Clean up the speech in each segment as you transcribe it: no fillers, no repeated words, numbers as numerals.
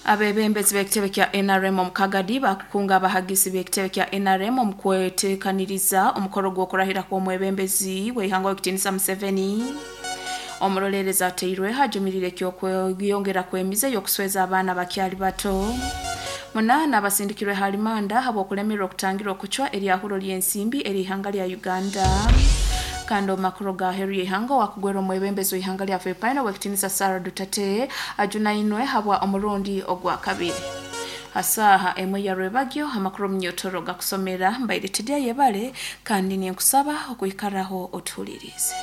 Abebembezi b'ekitebe kya NRM omu Kagadi bakukunga abahagisi b'ekitebe kya NRM omu kwetekaniriza omukoro gw'okurahira kw'omwebembezi w'eihanga Owekitinisa Museveni. Omuroleerezi ateirwe ajumirire eky'okweyongera kw'emize y'okusweza abaana abakyali bato. Munaana abasindikirwe ha rimanda habw'okulemererwa okutangira okucwa eryahuro ly'ensimbi ery'eihanga lya Uganda. Kandi omu makuru ga aheeru y'eihanga owakugwera omwebembezi w'eihanga lya Philippine Owekitinisa Sara Duterte ajunainwe habwa omurundi ogwa kabiri. Ha saaha emwe ya rwebagyo amakuru omunyotoro gakusomera mbaire Tidya Yebare kandi ninkusaba okwikaraho otuhuliriize.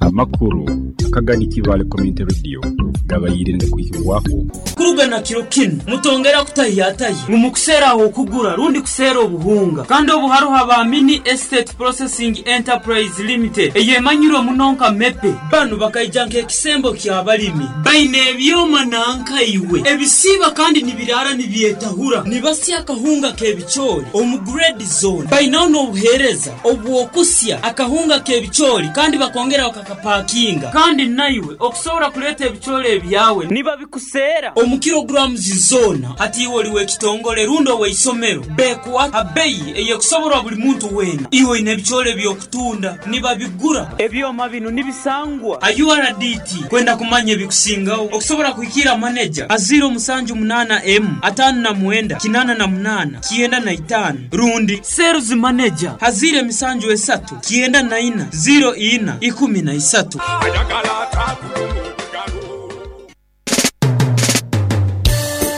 Amakuru akagani Kibaale Community Radio gabaire nigakwihibwaho. Kuruga na kiro kinu, mutongera kutahyatahya ngu mukuseera ah'okugura rundi kuseera obuhunga. Kandi obu haroho aba Mini Estate Processing Enterprise Limited eyemanyirwe muno nka MEPE. Banu bakaija nk'ekisembo ky'abalimi. Baine ebyoma nanka iwe ebisiiba kandi nibiraara nibyetahura, nibasya akahunga k'ebicoori omu grade zoona. Bainaho n'obuheereza obw'okusya akahunga k'ebicoori kandi bakongera bakakapakinga. Kandi naiwe okusobora kuleeta ebicoori ebyawe nibabikuseera omu kilograms zoona. Hati iwe oli w'ekitongole rundi ow'eisomero, bekuha ha beyi ey'ekusoborwa buli muntu weena. Iwe oine ebicoori eby'okutunda, nibabigura. Ebyoma binu nibisangwa ha URDT. Kwenda kumanya ebikusingaho, okusobora kuhikiira maneja ha ziiro musanju munaana emu, ataano na mwenda, kinaana na munaana, 95 rundi Sales Manager ha ziiro emisanju esatu 94 ziro ina 13.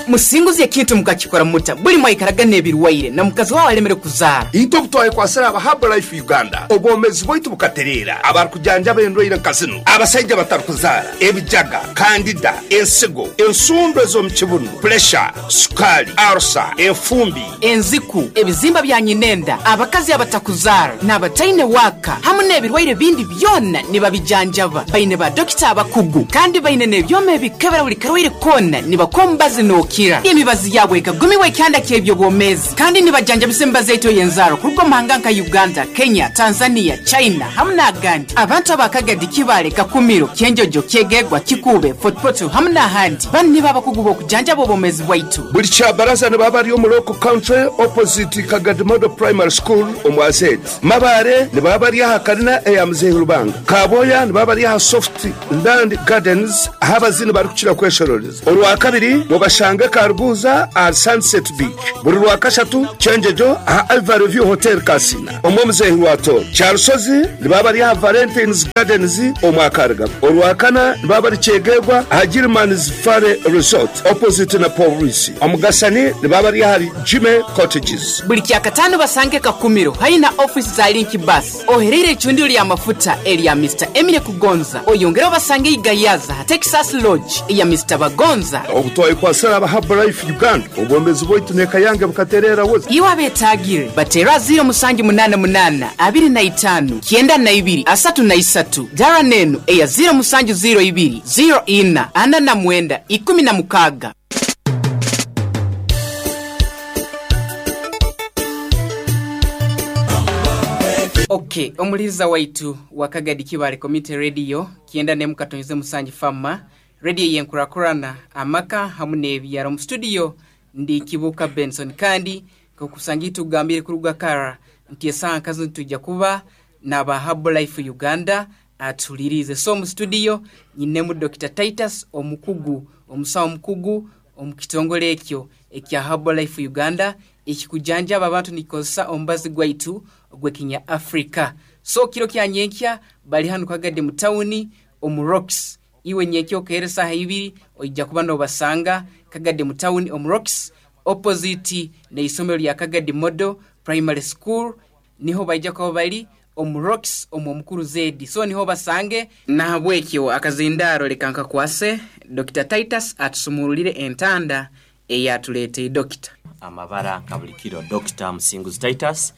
Musinguzi ekintu mukakikora muta buli mwaikaraga n'ebirwaire na mukazi wawe alemere kuzaara? Itwe obu twayekwasire aba Herbalife Uganda, obwomeezi bwaitu bukatereera. Abarukujanjaba endwaire nka zinu, abasaija abatarukuzaara, ebijaga, kandida, ensigo, ensundo ez'omu kibunu, puresha, Sukaali, arusa, enfumbi. Enziku, ebizimba bya nyinenda, abakazi abatakuzaara, n'abataine waaka hamu n'ebirwaire bindi byona nibabijanjaba. Baine ba dokita abakugu kandi baine n'ebyoma ebikebera buli karwaire koona nibakuha omubazi n'okira. Emibazi yaabo ekagumibwa ekihanda ky'eby'obwomeezi kandi nibajanjabisa emibazi yaitu ey'enzaarwa kuruga omu mahanga nka Uganda, Kenya, Tanzania, China hamu n'agandi. Abantu aba Kagadi, Kibaale, Kakumiro, Kyenjojo, Kyegegwa, Kikuube, Fort Portal hamu n'ahandi. Banu nibo abakugu b'okujanjaba obwomeezi bwaitu. Buli Kyabaraza nibaba bari omu Local Country opposite Kagadi Model Primary School omu Azedi. Mabaare nibaba bari aha kalina eya Muzeeyi Lubanga. Kabwoya nibaba bari aha Soft Land Gardens ahu abazini barikukira kweshororeza. Orwakabiri mubashange Karuguuza ahari Sunset Beach. Buri Rwakashatu Kyengyegyo aha Ivory View Hotel Kasina omu Omuzeehi Rwatooro. Kyarusozi nibaba bari aha Valentines Gardens omu Akarigabo. Orwakana nibaba bari Kyegegwa aha Gilman's Valley Resort opposite na Pooriisi. Omugasani nibaba bari ahari Jimmy Cottages. Buri Kyakataano basange Kakumiro haihi na ofiisi za Link Bus, ohereire eicundiro ly'amafuta erya Mister Emile Kugonza. Oyongere obasange ei Gayaza ha Texas Lodge eya Mister Bagonza. Obu twayekwatsire aba Herbalife Uganda, obwomeezi bwaitu n'eka yange bukatereera wozi. Iwe abeetaagire, bateere aha 0788 25 92 33. Dara n'enu eya 0702 04 49 16. Ok, omuhuririza waitu wa Kagadi Kibaale Community Radio, 91.7 Fama, radio ey'enkurakurana, amaka hamu n'ebyaro. Omu studio ndi Kibuuka Benson kandi nk'okusanga itugambire kuruga kara nti esaaha nka zinu nitwija kuba n'aba Herbalife Uganda atuhuliriize. So omu studio nyinemu Dokita Titus omukugu, omusawo omukugu omu kitongole ekyo ekya Herbalife Uganda ekikujanjaba abantu nikikozesa omubazi gwaitu ogw'ekinya Africa. So kiro kya nyenkya bali hanu Kagadi mu tawuni omu Rocks. Iwe nyenkya okeera esaaha ibiri oija kuba nobasanga Kagadi mu tawuni omu Rocks opposite n'eisomero lya Kagadi Model Primary School. Niho baija kuba bali omu Rocks omu Omukuru Zedi. So niho obasange. Nahabwekyo akazindaaro leka nkakwase Dokita Titus atusumururire entanda eyatuleteire. Dokita. Amabara nka buli kiro Dokita Musinguzi Titus.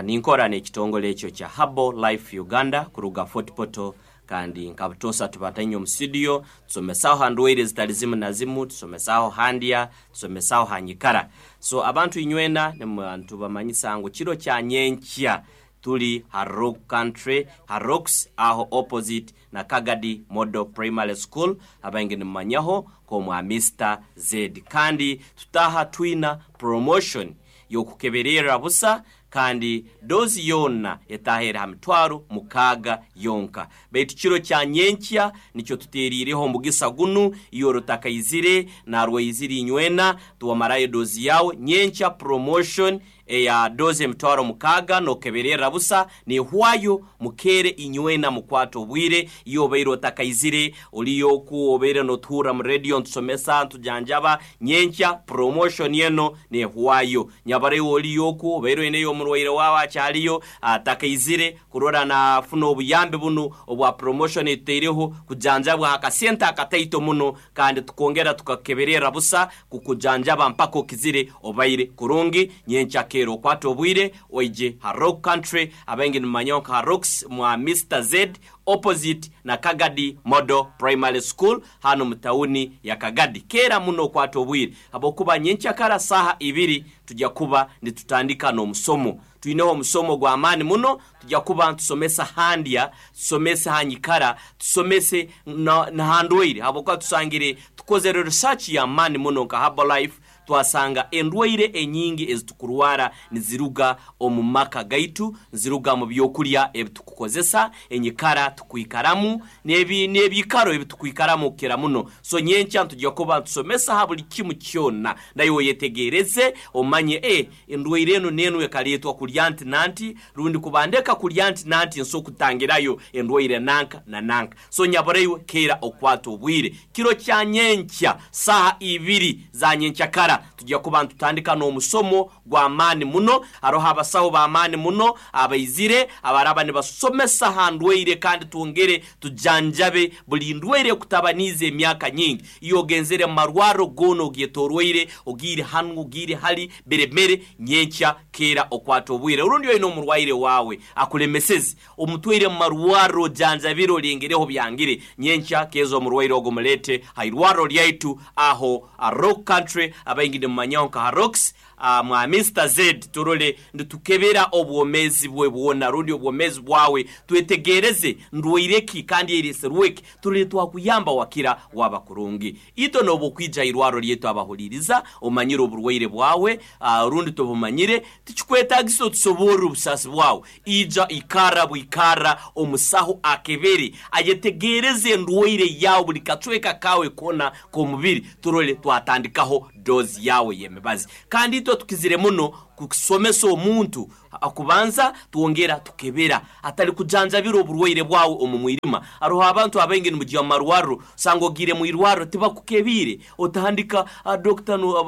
Ninkora n'ekitongole ekyo kya Herbal Life Uganda kuruga Fort Portal kandi nka butoosa tuba tainye omu studio tusomesaho ha ndwaire ezitali zimu na zimu, tusomesaho ha ndya, tusomesaho ha nyikara. So abantu inywena nitubamanyisa ngu kiro kya nyenkya. Tuli ha Rock Country, ha Rocks aho opposite na Kagadi Model Primary School, abaingi nimumanyaho nk'omwa Mr Z. Kandi tutaha twina promotion y'okukebererra busa, kandi dozi yona etahera ha 6,000 yonka. Baitu kiro kya nyenkya nikyo tuteriireho omugisa gunu, iyo rutakaizire narwaizire inywena tuwamarayo dozi yawe. Nyenkya promotion eya dozi 6,000 nokebererra busa nehwayo, mukere inywena mukwata obwire. Iyo obaire otakaizire oliyoku obaire notuhurra mu radio ntusomesa ntujanjaba, nyenkya promotion eno nehwayo. Nyabareyo oliyoku obaire oineyo omurwaire wawe akyaliyo atakaizire kurora nafuna obuyambi bunu obwa promotion etuteireho kujanjabwa akasente akataito muno, kandi tukongera tukakeberera busa kukujanjaba mpaka okizire obaire kurungi. Nyenkya kero okwata obwire oije ha Rock Country, abaingi nimumanyaho nka Rocks mwa Mr Z opposite na Kagadi Model Primary School hano mu tawuni ya Kagadi. Kera muno okwata obwire habwokuba nyenkya kara saha 2 tujya kuba nitutandika n'omusomo. Tuineho omusomo gw'amaani muno, tujya kuba ntusomesa handya, tusomese hanyikara, tusomese na handwaire, habwokuba tusangire tukozere research y'amaani muno nka Herbalife, twasanga endwaire enyingi ezitukurwara niziruga omu maka gaitu, niziruga mu byokurya ebitukukozesa, enyikara tukwikaramu, n'ebiikaro ebitukwikaramu kukira muno. So nyenkya tujya kuba tusomesa ha buli kimu kyona, naye oyetegereze omanye endwaire eno n'eno ekareetwa kurya nti nanti, rundi kubandeka kurya nti nanti nso kutangirayo endwaire nanka na nanka. So nyaboreiwe kera okwata obwire kiro kya nyenkya saha 2 za nyenkya kara tujya kuba ntutandika n'omusomo gw'amaani muno. Haroho abasaho b'amaani muno abaizire abaraba nibasomesa ha ndwaire, kandi twongere tujanjabe buli ndwaire ekutabaniize emyaka nyingi. Iyo ogenzere mu marwaro goona ogyetorwaire, ogiire hanu ogiire hali beremere, nyenkya kera okwata obwire. Orundi oine omurwaire wawe akulemeseze, omutwaire mu marwaro ojanjabire olengereho byangire, nyenkya keza omurwaire ogo mulete ha irwaro lyaitu aho a Rock Country, abaingi nimumanyaho nka ha Rocks mwa Mr Z. Turole nitukebera obwomezi bwe bwona rundi obwomezi bwawe, twetegereze ndwaireki kandi ereserweki, turole twakuyamba wakira waba kurungi. Ito nobukwija irwaro lyetu abahuliriza omanyire oburwaire bwawe, rundi tobumanyire, tikikwetagisa otusoborere obusasi bwawe. Ija ikara bwikara omusaho akebere ayetegereze endwaire yawe buli kacweka kawe kona k'omubiri, turole twatandikaho dozi yawe y'emibazi. Kandi itwe tukizire muno kusomesa omuntu akubanza twongera tukebera atali kujanjabira oburwaire bwawe omu mwirima. Aroho abantu abaingi nimujya mu marwaro, sanga ogire mu irwaro tibakukebire, otandika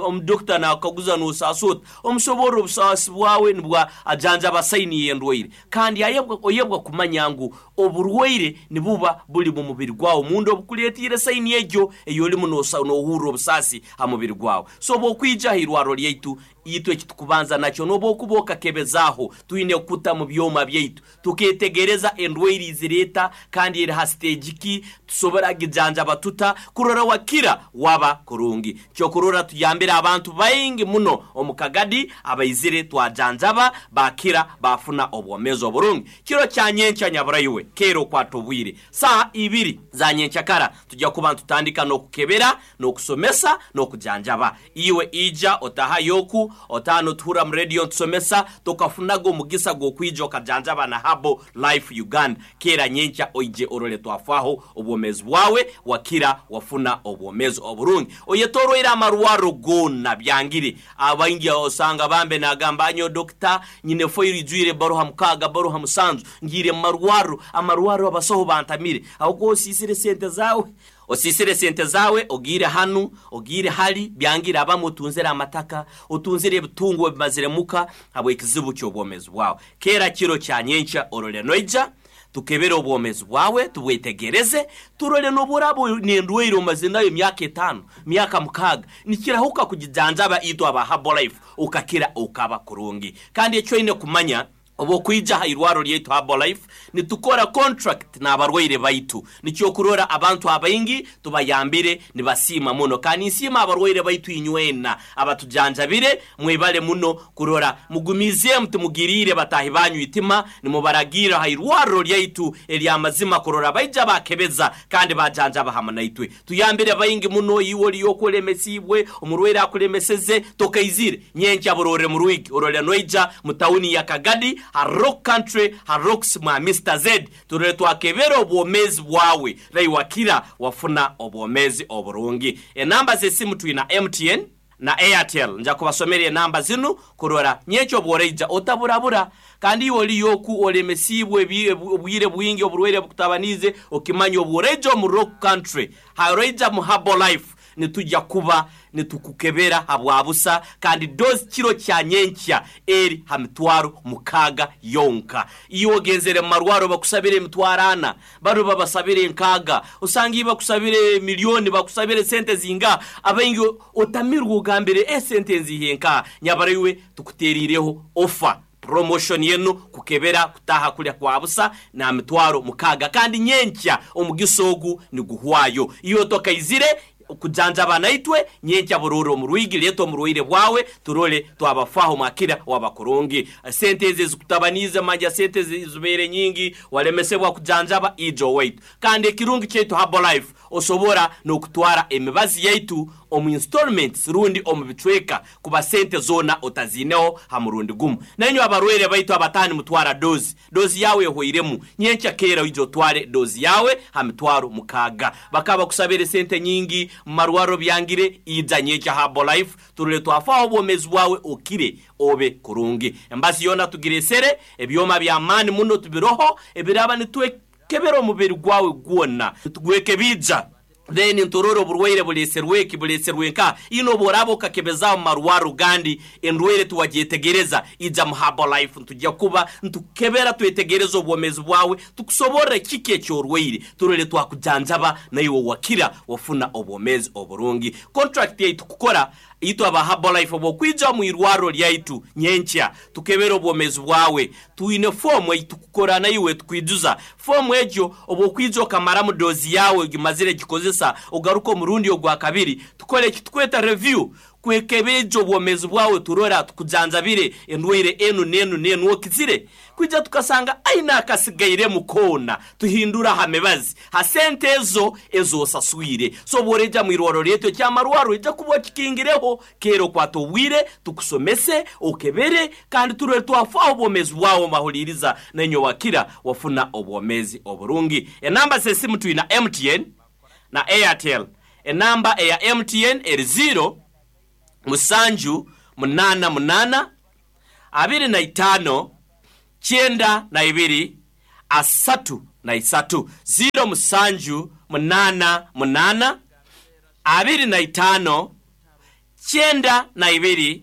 omudokita nakaguza nosasota omusobora obusasi bwawe nibwa ajanjaba saini y'endwaire. Kandi oyebwa kumanya ngu oburwaire nibuba buli mu mubiri gwawe mundu obukuleetire saini egyo eyolimu nohurra obusasi ha mubiri gwawe. So bwokwija ha irwaro lyaitu itwe ekitukubanza nakyo nobokuba okakebezaaho, twine kuta mu byoma byaitu tuketegereza endwaire izireta kandi eri ha stage ki tusobora gijanjaba tuta kurora wakira waba kurungi. Kyokurora tuyambire abantu baingi muno omu Kagadi abaizire twajanjaba bakira bafuna obwomeezi oburungi. Kiro kya nyenkya nyaburaiwe kero okwata obwire saha 2 za nyenkya kara tujya kuba ntutandika n'okukebera n'okusomesa n'okujanjaba. Iwe ija otaha yoku otano tuhura mu radio ntusomesa tokafunaga omugisa gw'okwija okajanjaba na Herbal Life Uganda. Kera nyenkya oije orole twafaho obwomezi bwawe wakira wafuna obwomezi oburungi. Oyetorwaire amarwaro gona byangire. Abaingi osanga bambe nagamba anyo dokita nyine foiri ijwire baruha 6 baruha 7 ngire marwaro amarwaro abasaho bantamire. Ahubwo osisire sente zawe, osisire sente zawe ogire hanu ogire hali byangira abamu otunzire amataka otunzire ebitungo ebimazire muka habw'ekizibu ky'obwomezi bwawe. Kera kiro kya nyenkya orole noija tukebere obwomezi bwawe tubwetegereze turole n'oburabo n'endwaire omaze nayo emyaka 5 myaka 6 nikirahuka kugijanjaba itwe aba Herbal Life ukakira ukaba kurungi. Kandi ekyo oine kumanya Obwokwija ha irwaro lyaitu Herbalife, nitukora contract n'abarwaire baitu. Nikyo kurora abantu abaingi tubayambire nibasiima muno. Kandi nsiima abarwaire baitu inywena abatujanjabire, mwebale muno kurora mugumizeemu, timugiriire batahi banyu itima, nimubaragira ha irwaro lyaitu ery'amazima kurora baija bakebeza kandi bajanjaba hamwe naitwe. Tuyambire baingi muno. Iwe oliyo okulemesibwe, omurwaire akulemeseze, tokaizire nyenkya burore murwigi orole noija mu tawuni ya Kagadi ha Rock Country ha Rocks mwa Mr Z, turole twakebera obwomezi bwawe raiwakira wafuna obwomezi oburungi. Enamba z'esimu twina MTN na Airtel. Nja kubasomera enamba zinu kurora nyenkya obworaija otaburabura. Kandi iwe oliyo oku olemesibwe obwire bwingi, oburwaire bukutabanize, okimanya obworaija omu Rock Country haroija mu Herbalife nitujya kuba nitukukebera habwabusa. Kandi dozi kiro kya nyenkya eri ha mitwaro 6 yonka. Iwe ogenzere mu marwaro bakusabire emitwaro 4, baro babasabire 6, osanga iwe bakusabire miliyoni, bakusabire sente zinga abaingi otamirwe ogambire esente nzihe nka nyabara. Iwe tukuterireho ofa promotion yenu kukebera kutaha kulya kwa busa na mitwaro 6, kandi nyenkya omugiso ogu niguhwayo. Iyo tokaizire kujanjaba naitwe nyenkya buroro omurwigi, leta omurwaire bwawe turole twabafaho mwakira wabakurungi. Sente ezi zikutabanize manja, sente zibeere nyingi walemesebwa kujanjaba, ijo waitu. Kandi ekirungi kyaitu Herbalife, osobora n'okutwara emibazi yaitu omu installments rundi omu bicweka, kuba sente zona otazineho ha murundi gumu. Nainywe abarwaire baitu abatani mutwara dozi, dozi yawe ehweiremu, nyenkya keera oije otware dozi yawe ha mitwaro 6. Bakaba bakusabire sente nyingi mu marwaro byangire, ija nyenkya Herbalife turole twafaho obwomezi bwawe okire obe kurungi. Embazi yona tugiresere ebyoma by'amaani muno tubiroho ebiraba nitwekebera omubiri gwawe gwona, tugwekebija then nturore oburwaire buleserweki, buleserwe nka ino. Obworaba okakebezaaho mu marwaro gandi endwaire tiwagyetegereza, ija mu Herbalife ntujya kuba ntukebera twetegereza obwomezi bwawe, tukusoborra kiki ekyorwaire, turole twakujanjaba naiwe wakira wafuna obwomezi oburungi. Contract yaitu kukora itwe aba Herbalife, obwokwija mu irwaro lyaitu nyenkya tukebera obwomezi bwawe, twine fomu eitukukora naiwe, tukwijuza fomu egyo. Obwokwija okamaramu dozi yawe ogimazire gikozesa, ogaruka omurundi ogwa kabiri tukole ekitukweta review, kwekebeja obwomezi bwawe, turora tukujanjabire endwaire enu nenu nenu okizire. Kwija tukasanga aina akasigairemu koona, tuhindura ha mibazi ha sente ezo ezosaswire. So obworeja mu irwaro lyetu ekyamarwaro ija kuba kikingireho kera okwata obwire tukusomese okebere kandi turore twafaho obwomezi bwawe mbahuliriza nenyo wakira wafuna obwomezi oburungi. Enamba z'esimu twina MTN na Airtel. Enamba eya MTN eri 0 7 8 8 25 92 33, 0 7 8 8 25 92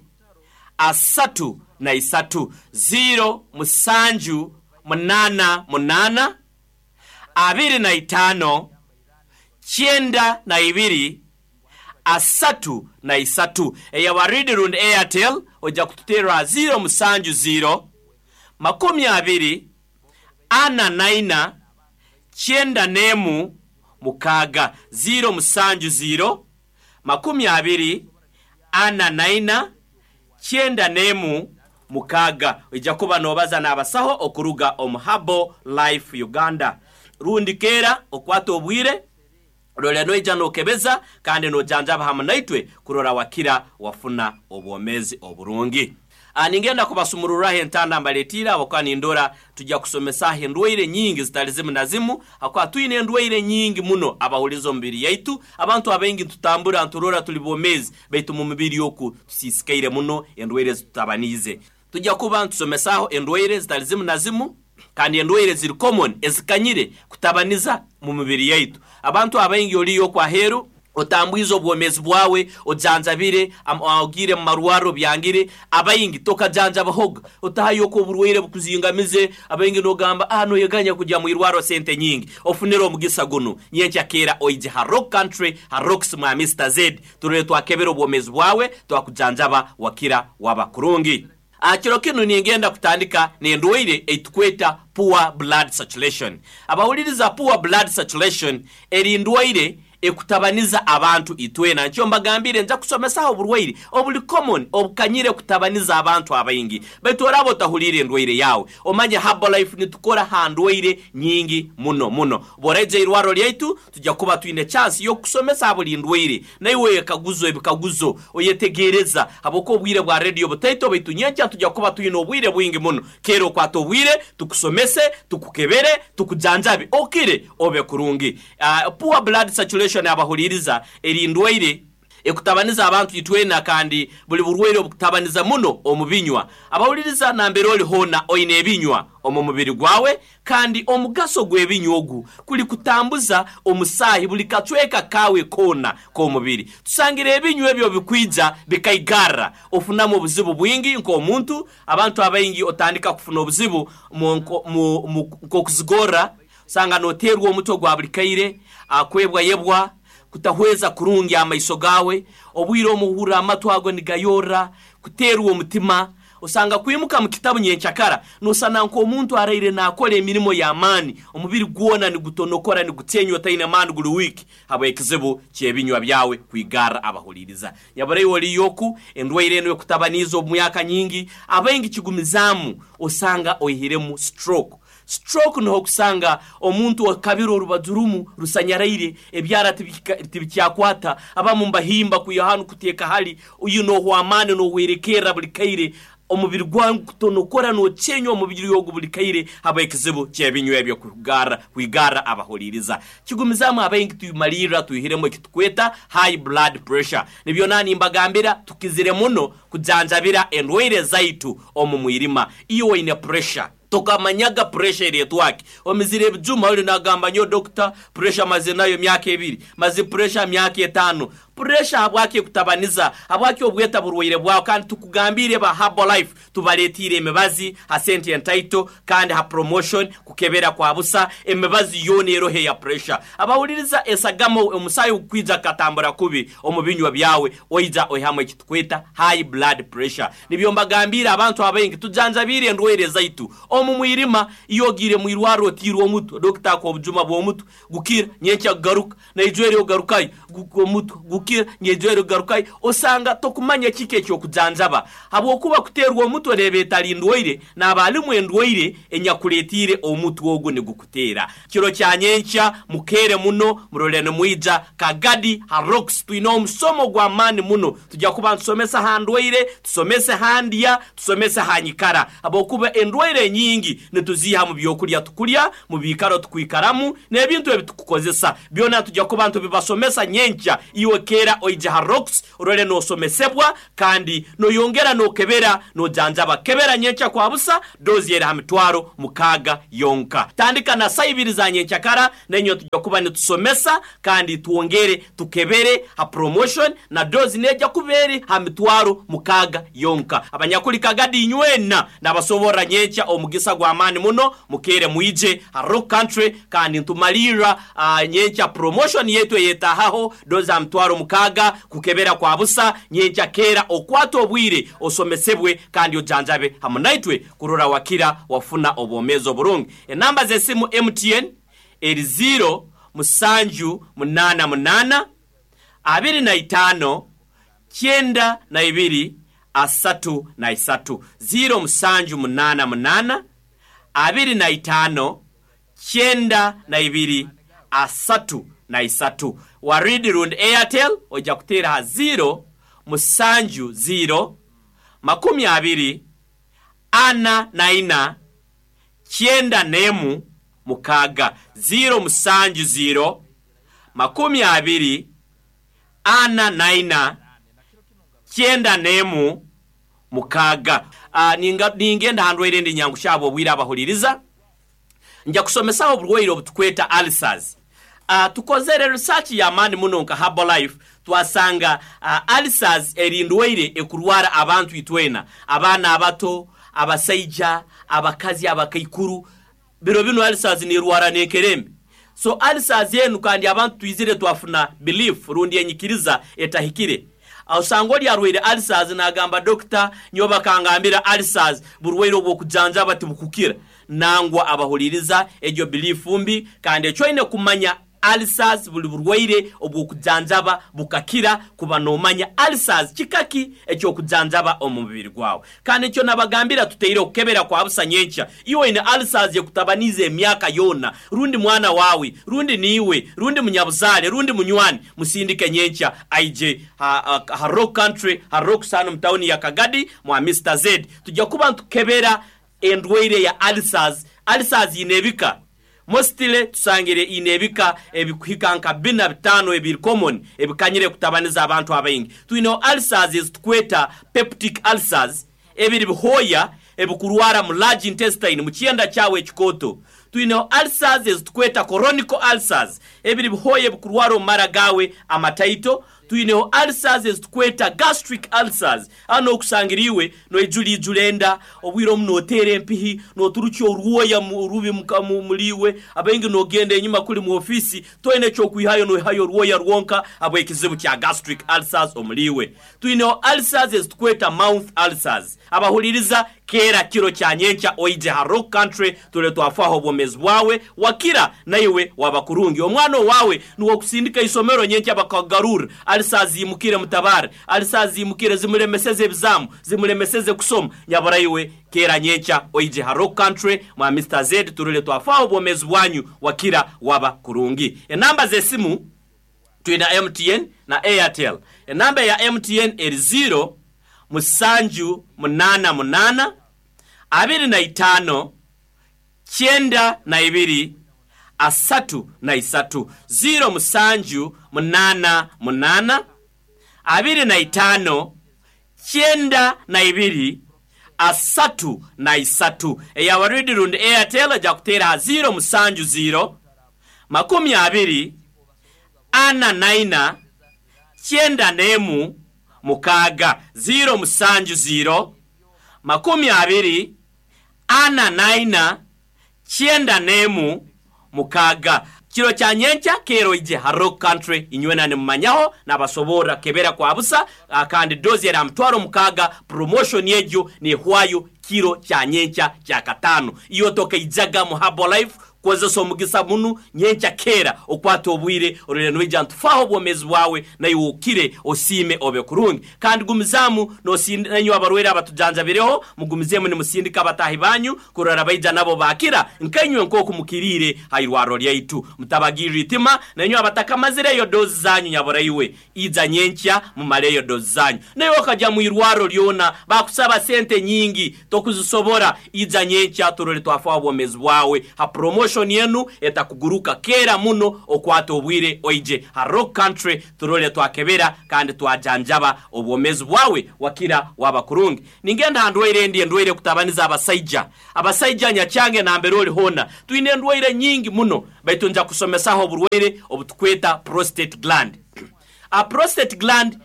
33, 0 7 8 8 25 92 33. Eya waridi rundi Airtel ojja kututerera 0 7 0 20 44 91 6, 0 7 0 20 44 91 6. Ojja kuba nobaza n'abasaho okuruga omu Herbal Life Uganda. Rundi keera okwata obwire rora noija nokebeza kandi nojanjaba hamwe naitwe kurora wakira wafuna obwomezi oburungi. Ningenda kubasumururaho entanda mbaletiire abakuba nindora tujja kusomesaho endwaire nyingi zitali zimu na zimu, hakuba twine endwaire nyingi muno abahuliza omubiri yaitu. Abantu abaingi ntutambura nturora tuli bomezi, baitu mu mubiri oku tusisikaire muno endwaire zitutabaniize. Tujja kuba ntusomesaho endwaire zitali zimu na zimu, kandi endwaire ziri common ezikanyire kutabaniza mu mubiri yaitu. Abantu abaingi oliyo kwaheru otambwize obwomezi bwawe, ojanjabire, ogire mu marwaro byangire, abaingi tokajanjabahoga, otahayo ko oburwaire bukuzingamize. Abaingi nogamba noyeganya kujya mu irwaro sente nyingi. Ofunire omugisa guno nyenkya keera oije ha Rock Country ha Rocks mwa Mr Z, turore twakebera obwomezi bwawe, twakujanjaba wakira waba kurungi. Kiro kinu ningenda kutandika n'endwaire eitukweta poor blood circulation. Abahuliriza, poor blood circulation eri ndwaire ekutabaniza abantu itwena. Nkyo mbagambire, nja kusomesaho oburwaire obuli common obukanyire kutabaniza abantu abaingi. Baitu oraba otahuliire endwaire yawe, omanye Herbalife nitukora ha ndwaire nyingi muno muno. Bw'oraija irwaro lyaitu, tujja kuba twine chance y'okusomesa buli ndwaire, naiwe oyekaguzo ebikaguzo, oyetegereza, habwokuba obwire bwa radio butaito, baitu nyenkya tujja kuba twine obwire bwingi muno. Keera okwata obwire, tukusomese, tukukebere, tukujanjabe, okire obe kurungi. Poor blood circulation, abahuliriza, eri ndwaire ekutabaniza abantu itwena, kandi buli burwaire obukutabaniza muno omu binywa. Abahuliriza, nambere oli hoona oine ebinywa omu mubiri gwawe, kandi omugaso gw'ebinywa ogu kuli kutambuza omusaahi buli kacweka kawe koona k'omubiri. Tusangire ebinywa ebyo bikwija bikaigarra, ofunamu obuzibu bwingi nk'omuntu. Abantu abaingi otandika kufuna obuzibu nk'okuzigorra, osanga noteerwa omutwe gwa buli kaire, kwebwayebwa, kutahweza kurungi amaiso gawe, obwire omuhurra amatu ago nigayorra, kuteerwa omutima, osanga kwimuka mu kitabu nyenkyakara nosana nk'omuntu araire naakora emirimo y'amaani, omubiri gwona nigutonokora, nigucenywa, otaine maani, guli wiiki habw'ekizibu ky'ebinywa byawe kwigarra. Abahuliriza, nyaburaiwe oliyoku endwaire eno ekutabaniiza omu myaka nyingi, abaingi kigumizaamu, osanga oihiremu stroke. Stroke niho kusanga omuntu akabira orubaju rumu rusanyaraire, ebyara tibikyakwata, abamu mbahimba kwiha hanu kuteeka hali uyu, nohwa amaani, nohwerekerra buli kaire, omubiri gwawe gutonokora, nocenywa omubiri ogu buli kaire habw'ekizibu ky'ebinywa ebyo kwigarra. Abahuliriza, kigumizaamu abaingi tumalirra twihiremu ekitukweta high blood pressure. Nibyo nani mbagambira, tukizire muno kujanjabira endwaire zaitu omu mwirima. Iyo oine pressure, tokamanyaga pressure eretwaki, omizire ebijuma, oli nagamba, "Nyo dokita, pressure maze nayo myaka 2, maze pressure myaka 5." Pressure habwaki ekutabaniza? Habwaki obweta burwaire bwawe? Kandi tukugambire, ba Herbalife tubaletiire emibazi ha sente entaito kandi ha promotion, kukebera kwa busa, emibazi yoona eroho eya pressure. Abahuliriza, esagama, omusaayi ogukwija kukatambura kubi omu binywa byawe, oija oihamu ekitukweta high blood pressure. Nibyo mbagambire, abantu abaingi tujanjabiire endwaire zaitu omu mwirima. Iyo ogiire mwirwarro otiirwe omutwe, dokita akuha obujuma bw'omutwe, gukira, nyenkya kugaruka, naijwere ogarukayo, omutwe gukira, nyeijwere ogarukayo, osanga tokumanya kiki ekyokujanjaba, habwokuba kuteerwa omutwe neeba etali ndwaire, naaba alimu endwaire enyakuletiire omutwe ogu nigukuteera. Kiro kya nyenkya mukeere muno, murole nimwija Kagadi ha Rocks, twine omusomo gw'amaani muno. Tujja kuba ntusomesa ha ndwaire, tusomese ha ndya, tusomese ha nyikara, habwokuba endwaire enyingi nituziiha mu byokulya tukulya, mu biikaro tukwikaramu, n'ebintu ebi tukukozesa. Byona tujja kuba ntubibasomesa nyenkya. Iwe keera oije ha Rocks, orole n'osomesebwa kandi noyongera n'okebera, nojanjaba. Kebera nyenkya kwa busa, dozi eri ha 60,000 yonka. Tandika na saa 2 za nyenkyakara, nenyo tujja kuba nitusomesa kandi twongere tukebere ha promotion, na dozi nejja kuba eri ha 60,000 yonka. Abanyakuli Kagadi inywena nabasoborra nyenkya omugisa gw'amaani muno, mukeere mwije ha Rock Country. Kandi ntumalirra nyenkya promotion yetu eyetahaho, dozi ha 60,000, kukebera kwa busa. Nyenkya keera okwata obwire, osomesebwe kandi ojanjabe hamu naitwe kurora wakira, wafuna obwomeezi oburungi. Enamba z'esimu, MTN eri 0 7 8 8 25 92 33, 0 7 8 8 25 92 33. Waridi rundi Airtel ojja kuteera ha 0 7 0 20 44 91 6, 0 7 0 20 44 91 6. Ningenda handwaire endi nyangushabo obwire. Abahuliriza, nja kusomesaho oburwaire obutukweta ulcers. Tukozere research y'amaani muno nka Herbalife, twasanga ulcers eri ndwaire ekurwara abantu itwena, abaana abato, abasaija, abakazi, abakaikuru. Biro bino ulcers nirwara n'enkerembe. So ulcers enu, kandi abantu twizire twafuna belief rundi enyikiriza etahikire. Osanga oli arwaire ulcers nagamba dokita nyowe bakangambira ulcers burwaire obw'okujanjaba tibukukira. Nangwa abahuliriza egyo belief mbi, kandi ekyo oine kumanya ulcers buli burwaire obw'okujanjaba bukakira kuba nomanya ulcers kikaki eky'okujanjaba omu mubiri gwawe. Kandi ekyo nabagambira tuteireho kukebera kwa busa nyenkya. Iwe oine ulcers ekutabaniize emyaka yoona, rundi mwana wawe, rundi niiwe, rundi munyabuzaale, rundi munywani, musindike nyenkya aije ha Rock Country, ha Rock Sun mu tawuni ya Kagadi mwa Mister Z. Tujja kuba nitukebera endwaire ya ulcers. Ulcers ine ebika. Mostly tusangire ine ebika ebikuhika nka bina bitano ebiri common ebikanyire kutabaniza abantu abaingi. Twineho ulcers ezitukweta peptic ulcers, ebiri bihoya ebikurwara mu large intestine, mu kyenda kyawe ekikooto. Twineho ulcers ezitukweta chronic ulcers, ebiri bihoya ebikurwara omu mara gawe amataito. Twineho ulcers ezitukweta gastric ulcers, hano okusangira iwe noijulijula enda, obwire omu noteera empihi, noturukya orwoya rubi muliwe, abaingi nogenda enyuma kuli mu ofisi, toine ekyokwihayo, noihayo orwoya rwonka habw'ekizibu kya gastric ulcers omuliwe. Twineho ulcers ezitukweta mouth ulcers. Abahuliriza kera kiro kya nyenkya oije ha Rock Country tule twafaho obwomezi bwawe, wakira naiwe waba kurungi. Omwana owawe nuwe okusindika isomero nyenkya bakagarura, ulcers zimukire mutabare, ulcers zimukire zimulemeseze ebizamu, zimulemeseze kusoma. Nyabura iwe kera nyenkya oije ha Rock Country mwa Mister Z turule twafaho obwomezi bwanyu, wakira waba kurungi. Enamba z'esimu twina MTN na Airtel. Enamba ya MTN eri 0 musanju munana munana abiri na itano kyenda na ibiri asatu na isatu. 0 musanju munana munana abiri na itano kyenda na ibiri asatu na isatu. Eya waridi rundi Airtel ejja kuteera 0 musanju 0 makumi abiri ana naina kyenda nemu mukaaga. 0 musanju 0 makumi abiri ana naina kyenda nemu mukaaga. Kiro kya nyenkya kero ije ha Rock Country inywena nimumanyaho nabasobora kebera kwa busa, kandi dozi era mutwaro mukaaga. Promotion yegyo nehwayo kiro kya nyenkya kya katano. Iyo toka ijaga mu Herbalife kozesa omugisa munu nyenkya kera okwata obwire orore noija ntufaho obwomezi bwawe naye ukire osime obe kurungi. Kandi gumizamu nosinda abarwere abatujanjabireho, mugumizemu nimusindika abatahi banyu kurora baija nabo bakira nkainywe nkoku mukirire hairwaro lyaitu. Mutabagirira itima nanywe abatakamazireyo dozi zanyu nyabora iwe iza nyenkya mumaleyo dozi zanyu. Naye okaja mu irwaro lyona bakusaba sente nyingi tokuzisobora, iza nyenkya turore twafaho obwomezi bwawe. Ha promotion yenu etakuguruka kera muno okwata obwire oije ha Rock Country turole twakebera kandi twajanjaba obwomezi bwawe wakira waba kurungi. Ningenda ndwaire ndi ndwaire kutabaniza abasaija. Abasaija nyachange na mbere oli hona. Twine ndwaire nyingi muno baitu nja kusomesaho oburwaire obutukweta prostate gland. A prostate gland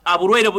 aburwaire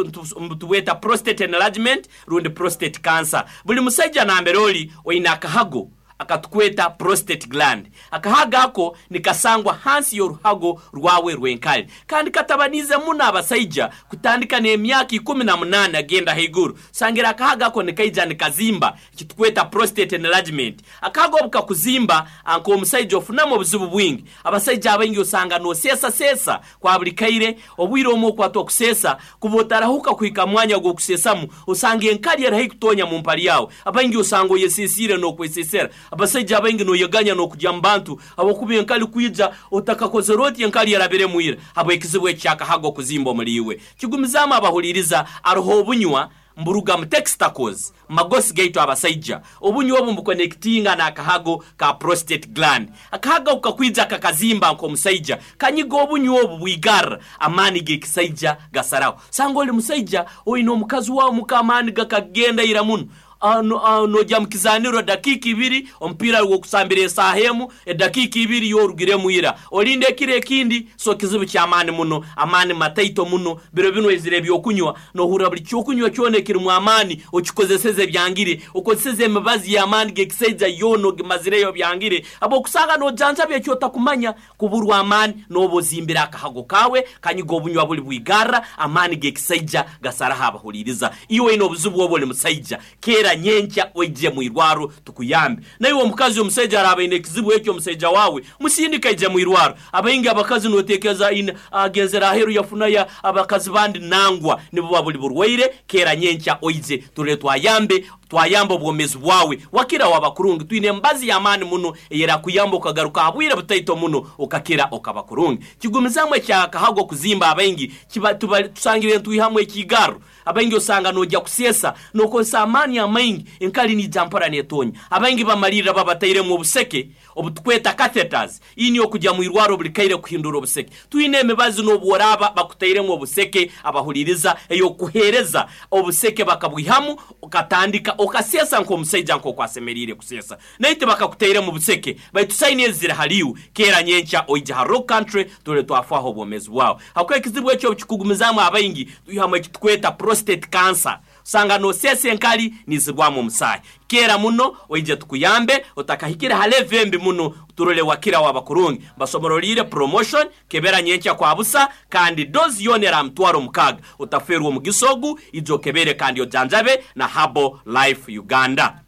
butubweta prostate enlargement rundi prostate cancer. Buli musaija na mbere oli oina akahago akatukweta prostate gland. Akahaga ako nikasangwa hansi y'oruhago rwawe rwenkali. Kandi katabanize muno abasaija kutandika n'emyaka 18 agenda haiguru. Sangira akahaga ako nikaija nikazimba kitukweta prostate enlargement. Akahaga obu kakuzimba anko omusaija ofunamu obuzibu bwingi. Abasaija abaingi osanga nosesa sesa kwa buli kaire, obwire omwe okwata okusesa kuba otarahuka kuhika mwanya gw'okusesamu, osanga enkali erahi kutonya mu mpali yawe. Abaingi osanga oyesesire n'okwesesera. Abasaija abaingi noyeganya n'okujya mu bantu abakuba enkali kwija otakakozere oti enkali yarabire mwira habw'ekizibu ekyakahaga okuzimba omuli iwe. Kigumizaamu abahuliriza aroho obunywa mburuga mu testicles magosi gaitu abasaija. Obunywa obu mbukonekitinga n'akahago ka prostate gland. Akahago kakwija kakazimba nk'omusaija kanyiga obunywa obu bwigarra amaani g'ekisaija gasaraho. Sanga oli musaija oine omukazi wawe muka amaani gakagenda ira muno. Nojya mu kizaniro dakiika ibiri, omupiira gwokusambira esaaha emu, edakiika ibiri yorugiremu ira, olinde ekiro ekindi. So kizibu ky'amaani muno, amaani mataito muno. Biro binu ezira ebyokunywa, nohurra buli kyokunywa kyona ekirimu amaani okikozeseze byangire, okozeseze emibazi y'amaani g'ekisaija yoona ogimazireyo byangire, habwokusanga nojanjaba ekyotakumanya. Kuburwa amaani noba ozimbire akahago kawe, kanyiga obunywa buli bwigarra, amaani g'ekisaija gasaraho. Abahuliriza, iwe oine obuzibu obu, oli musaija, keera nyenkya oije mwirwaro tukuyambe. Naiwe omukazi, omusaija araaba aine ekizibu ekyo, omusaija wawe musindika aije mwirwaro. Abaingi abakazi notekereza agenzere aheru yafunayo abakazi bandi, nangwa nibuba buli burwaire. Keera nyenkya oije turole twayambe, twayamba obwomezi bwawe wakira waba kurungi. Twine embazi y'amaani muno eyerakuyamba okagaruka ha bwire butaito muno okakira okaba kurungi. Kigumizamu ekyakahago kuzimba, abaingi tusangire ntwihamu ekigarro. Abaingi osanga nojya kuseesa nokozesa amaani amaingi, enkali nija mpora netonya. Abaingi bamalirra babatairemu obuseke obutukweta catheters, ini okujya mu irwaro buli kaire kuhindura obuseke. Twine emibazi n'obworaba bakutairemu obuseke, abahuliriza, eyokuhereza obuseke bakabwihamu, okatandika okasesa nk'omusaija nk'okwasemeriire kusesa, naye tibakakutairemu buseke, baitu saini ezi ziri haliwe. Keera nyenkya oija ha Rock Country tule twafaho obwomezi bwawe. Hakuba ekizibu ekyo kikugumizaamu, abaingi twihamu ekitukweta prostate cancer, osanga nosesa enkali nizirwamu omusaayi. Keera muno oije tukuyambe otakahikire ha level embi muno, turole wakira waba kurungi. Basoborolire promotion kebera nyenkya kwa busa, kandi dozi yona era 60,000. Otaferwa omugisa ogu, ijo okebere kandi ojanjabe na Herbal Life Uganda.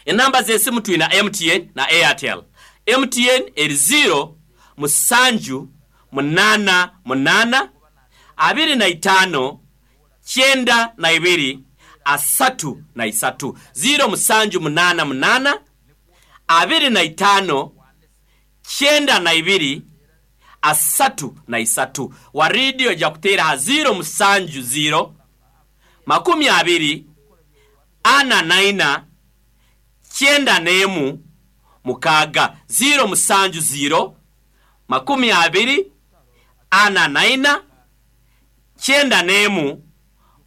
Enamba z'esimu twina MTN na Airtel. MTN eri 0 7 8 8 25 92 33, 0 7 8 8 25 92 33. Wa radio ejja kuteera ha 0 7 0 20 44 91 6, 0 7 0 20 44 91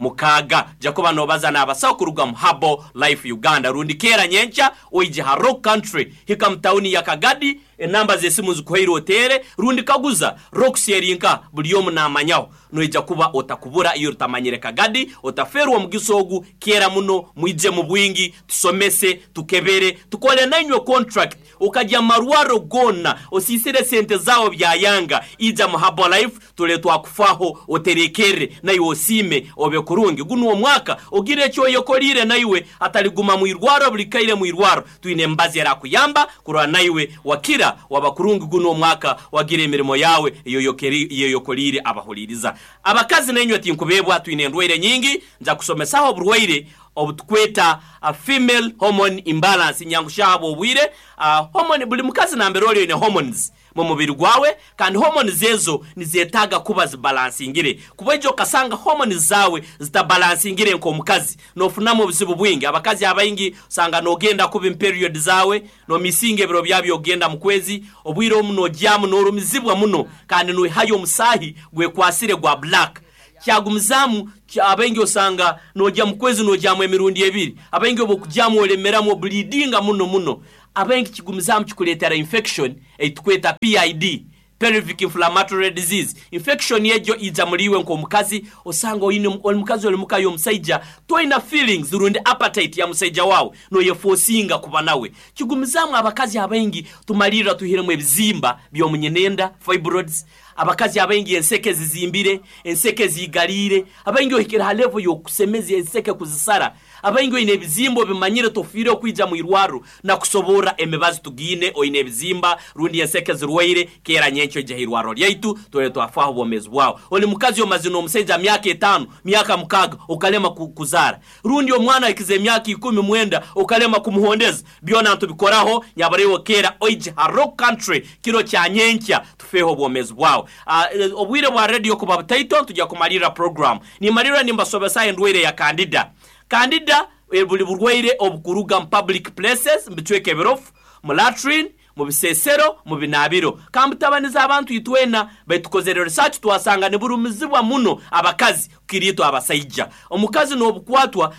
6. Jakuba nobaza n'abasawo kuruga mu Herbal Life Uganda, rundi keera nyenkya oije ha Rock Country, hika mu tawuni ya Kagadi. Enamba z'esimu zikuhaire oteere, rundi kaguza Rocks erinka, buli omu namanyaho, noija kuba otakubura. Iyo rutamanyire Kagadi, otaferwa omugisa ogu. Keera muno mwije mu bwingi, tusomese, tukebere, tukole nainywe contract. Ukajya marwaro gona osisire sente zawo byayanga, ija mu Herbal Life tule twakufaho, oterekere naiwe osime obe kurungi. Guno omwaka ogire ekyo oyekolire, naiwe ataliguma mwirwaro buli kaire mwirwaro. Twine embazi erakuyamba kurora naiwe wakira waba kurungi, guno omwaka wagira emirimo yawe eyoyokolire. Abahuliriza, abakazi nainywe tinkubebwa, twine endwaire nyingi. Nja kusomesaho oburwaire obutukweta a female hormone imbalance nyangushabo obwire. Hormone, buli mukazi nambere oli oine hormones mu mubiri gwawe, kandi hormones ezo nizetaaga kuba zibalansingire, kuba ejo okasanga hormones zawe zitabalansingire nk'omukazi nofunamu obuzibu bwingi. Abakazi abaingi osanga nogenda kuba period zawe, nomisinga ebiro byabyo ogenda mu kwezi, obwire omu nojyamu norumizibwa muno, kandi noihayo omusaahi gwekwasire gwa black. Kyagumizamu abaingi osanga nojya mu kwezi nojyamu emirundi ebiri, abaingi obokujyamu olemeramu, obulidinga muno muno. Abaingi kigumizamu kikuleetera infection eitukweta PID, pelvic inflammatory disease. Infection ejo ija muliwe nk'omukazi, osanga oine oli mukazi oli muka y'omusaija, toina feelings rundi appetite ya musaija wawe, noyefosinga kuba nawe. Kigumizamu abakazi abaingi tumalirra tuhiremu ebizimba by'omunyenenda, fibroids. Abakazi abaingi enseke zizimbire, enseke zigalire, abaingi ohikire ha level y'okusemeza enseke kuzisara. Abaingi oine ebizimba obimanyire, tofiire okwija mu irwaro na kusoborra emibazi tugiine. Oine ebizimba rundi enseke zirwaire, keera nyenkyo ija irwaro lyaitu tole twafaho obwomezi bwawe. Oli mukazi omazina omusaija myaka 5, myaka 6, okalema kuzaara, rundi omwana ahikize emyaka 19 okalema kumuhondeza, byona ntubikoraho. Nyabarewo keera oije ha Rock Country kiro kya nyenkya, tufeho obwomezi bwawe. Obwire bwa radio kuba butaito, tujya kumalira program nimalira nimbasobesa endwaire ya candida. Candida buli burwaire obukuruga mu public places, mu bicweka ebirofu, mu latrine. Mu bisesero, mu binabiro, kambutabaniza abantu itwena baitukozere research, twasanga niburumizibwa muno abakazi kukira abasaija. Omukazi n'obukwatwa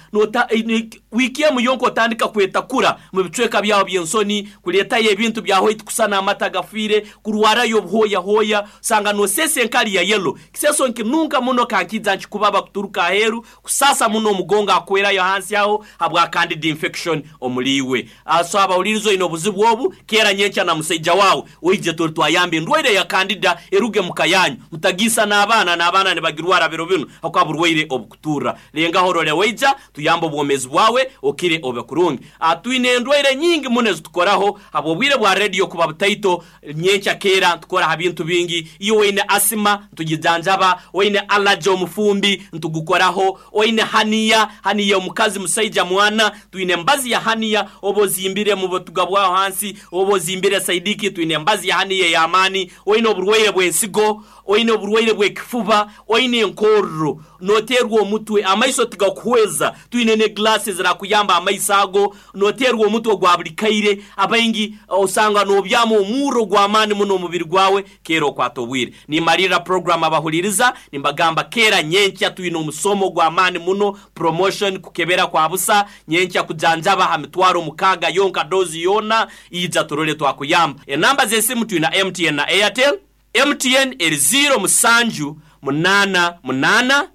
wiki emu yonka otandika kwetakura mu bicweka byawo by'ensoni, kuleetayo ebintu bya white kusana amata gafiire, kurwarayo obuhooyahooya, osanga nosesa enkali ya yellow, kiseso nkinunka muno kankija nkikubaba kuturuka aheeru, kusasa muno omugongo akwerayo hansi aho habwa candida infection omuliiwe. So abawuliriza oine obuzibu obu, keera nyenkya na musaija wawe oije tuli twayamba endwaire ya candida eruge mu kayanyu, mutagiisa n'abaana, n'abaana nibagirwara biro bino habwokuba burwaire obukuturra. Lengaho role waija tuyambe obwomezi bwawe okire obe kurungi. Twine endwaire nyingi muno ezitukoraho habw'obwire bwa radio kuba butaito. Nyenkya keera ntukora ha bintu bingi. Iyo oine asima ntugijanjaba, oine allergy omufumbi ntugukoraho, oine haniya, haniya omukazi musaija mwana, twine embazi ya haniya, oba ozimbire mu butuga bwaho hansi, oba ozimbire saidiki, twine embazi ya haniya ey'amaani. Oine oburwaire bw'ensigo, oine oburwaire bw'ekifuba, oine enkorro, noteerwa omutwe, amaiso tigakuhweza, twine ne glasses zirakuyamba amaiso ago, noteerwa omutwe gwa buli kaire, abaingi osanga nobyama omurro gw'amaani muno omubiri gwawe, keera okwata obwire. Nimalirra program abahuliriza, nimbagamba keera nyenkya twine omusomo gw'amaani muno, promotion kukebera kwa busa, nyenkya kujanjaba ha 60,000 yonka dozi yona, ija turole twakuyamba. Enamba z'esimu twina MTN na Airtel. MTN eri 0 7 8 8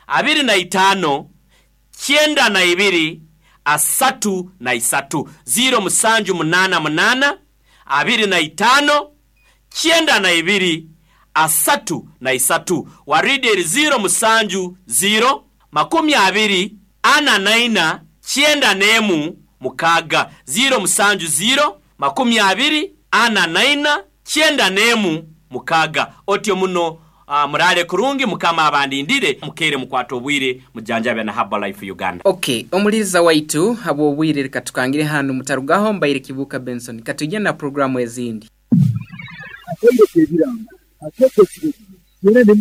25 92 33 0 7 8 8 25 92 33. Waridi eri 0 7 0 20 44 91 6 0 7 0 20 44 91 6. Otyo muno murale kurungi, mukama abandindire, mukere mukwata obwire, mujanjabe na Herbalife Uganda. Okay, omuliriza waitu habw'obwire reka tukangire hanu, mutarugaho. Mbaire Kibuuka Benson, katujye na programu ezindi. Akaire k'ebirango akeekesire.